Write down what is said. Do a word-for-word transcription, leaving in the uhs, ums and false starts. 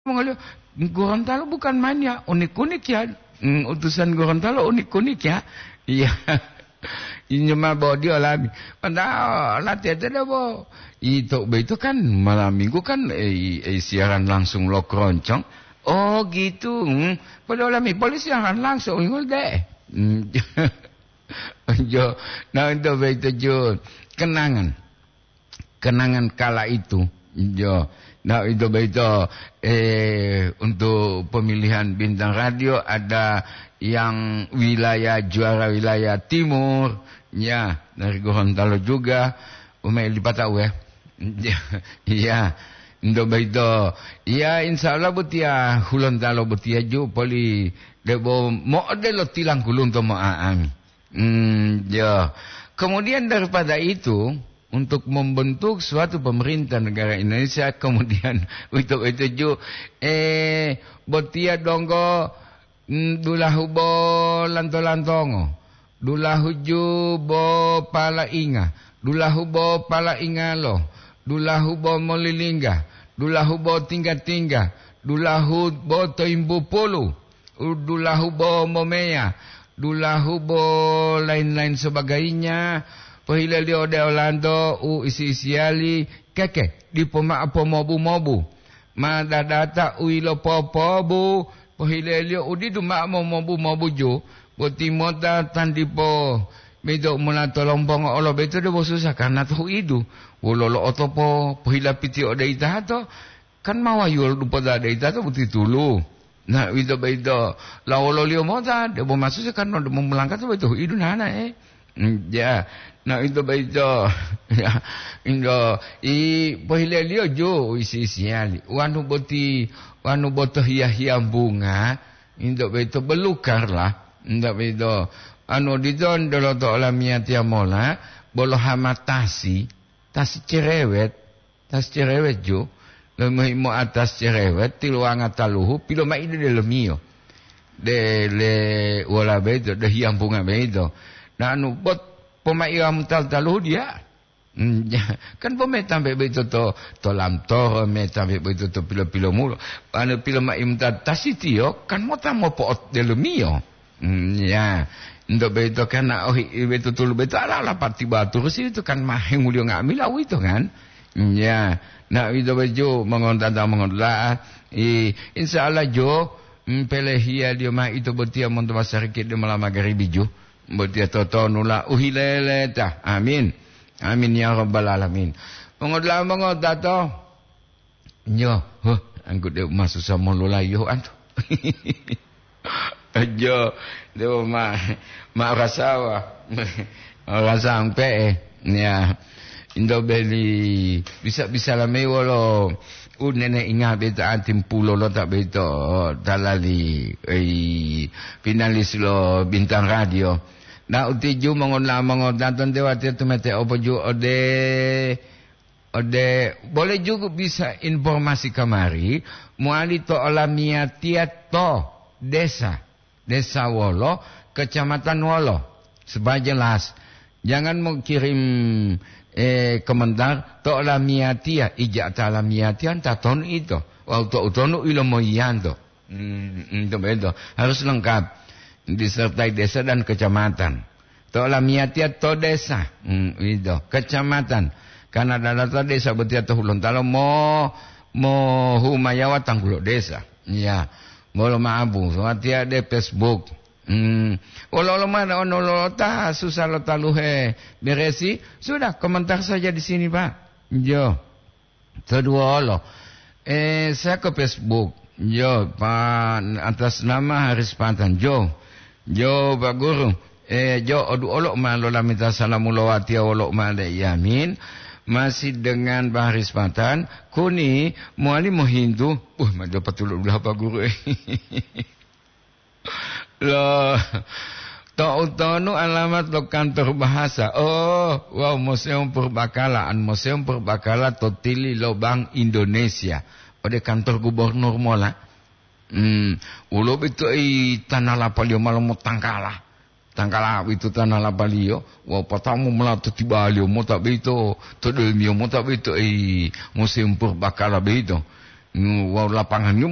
mongoliyo, Gorontalo bukan main ya, unik-unik ya. Hmm, utusan Gorontalo unik-unik ya. Iya. Inyo ma bodi olami. Padahal latihan itu debo. Itu, itu kan malam minggu kan, eh, eh, siaran langsung lo keroncong. Oh, gitu. Hmm. Padahal olami polisi siaran langsung, ingol deh. Hmm. Jo, nah, itu begitu, Jo. Kenangan. Kenangan kala itu. Jo. Nah, itu begitu, eh, untuk pemilihan bintang radio ada yang wilayah, juara wilayah timur, ya, dari Gorontalo juga, umai lipatau, ya. Iya, ndo begitu. Ya, insya Allah botiya Hulontalo botiya ju poli debo mo'odelo tilang kulunto mo'a'ami. Hmm, ya. Kemudian daripada itu, untuk membentuk suatu pemerintah negara Indonesia, kemudian uwito-uwito ju, eh, botiya donggo, mm, dulahu bo lanto-lantongo, dulahu ju bo palainga, dulahu bo palaingalo, dulahu bo molilingga, dulahu bo tingga-tingga, dulahu bo toimbu pulu, dulahu bo momeya, dulahu bo lain-lain sebagainya, pohileliyo ode olanto u isi-isiyali keke, dipo mao pomobu-mobu. Ma dadata u yilopopobu, pohileliyo u didu mao momobu-mobuju, boti mota tandipo meto mola tolombongo olo beto debo susa karna to huidu. Wololo otopo pohilapiti ode itato, kan ma wayuwolo dupo dade itato boti tulu. Na, uwito boyito, lawololiyo mota, debo masusu kan debo molangkata boyito hu'idu nanae. Mm, ya. Na, uwito boyito, ya, indo, i, pohileliyo jo isi-isiyali. Wanu boti, wanu boto hiya-hiya bunga, indo boyito belukar lah. Indo boyito, anu odito ndoloto olamiyatiya mola, bolo hamatasi, tasi cerewet. Tas cerewet jo, lomohi moatas cerewet, tiluwanga taluhu, pilomaidu delomiyo. Dele wola boyito, de hiyampunga boyito. Nanu bot pomaiwamu tal-taluhu diya. Hmm, ja-, kan po metambe boyito to, to lamtoro, metambe boyito to pilo-pilomulo. Anu pilomaimu ta-, tasitiyo, kan mota mopo'ot delomiyo. Hmm, ya. Ento boyito kan ohi-, boyito tulu boyito ala-ala pati baturusi itu kan ma henguliyo nga'amila uwito kan? Hmm, ya. Na, uwito boyito mongontata mongontata, i, insya Allah jo, mm, pelehiyaliyo ma ito botiya monto masariki de mola magaribi jo. Botiya totonula uhileleta. Amin. Amin ya rabbal alamin. Mongontata mongontata. Nyo, huh, anggu de masusa mololayo antu. Ajo, dewo ma, ma rasawa. Rasa ampe'e, ya. Indo beli bisa-bisa lamei wolo u nene inga beta antimpulo lo ta beto talali, ei, finalis lo Bintang Radio. Na utiju mongola mongodaton dewa tetu mete opo ju ode Ode, boleh juga bisa informasi kamari, mowali to olamiyatiya to desa, desa wolo, kecamatan wolo, supaya jelas. Jangan mau kirim, eh, komentar to olamiyatiya, ija ta olamiyatiya, ta tonu ito, wawu to utonu ilomoyiyanto. Hmm, hmm, to beto. Harus lengkap. Disertai desa dan kecamatan. To lamiyatiya to desa, hmm, ito, kecamatan. Karena dalata desa botiya to Hulontalo mo, mo humayawa tanggulo desa. Ya, bolo maabu, watiya de Facebook. Hmm, wolo-wolo mane ono lolota susah lo taluhe beresi, sudah komentar saja di sini, Pak. Jo. Toduwolo, eh, saya ke Facebook. Yo, Pak, atas nama Haris Patan. Jo, jo, Pak Guru. Eh, jo, odu olo ma lolamita salamu lowatiya wolo ma le yamin. Masih dengan Pak Haris Patan. Kuni, mowali mohintu. Uh, ma dapat dulu belah Pak Guru. Loh, to'utonu alamat lo kantor bahasa? Oh, wawu Museum Purbakala, an Museum Purbakala to tili lo Bank Indonesia, ode kantor gubernur mola. Hmm, wolo bito i tanah lapaliyo malo motangkala. Tangkala wito tanah lapaliyo, wawu patamu mola to tibaliyo mota bito, to delomiyo mota bito i Museum Purbakala bito. Hmm, wawu lapanganyo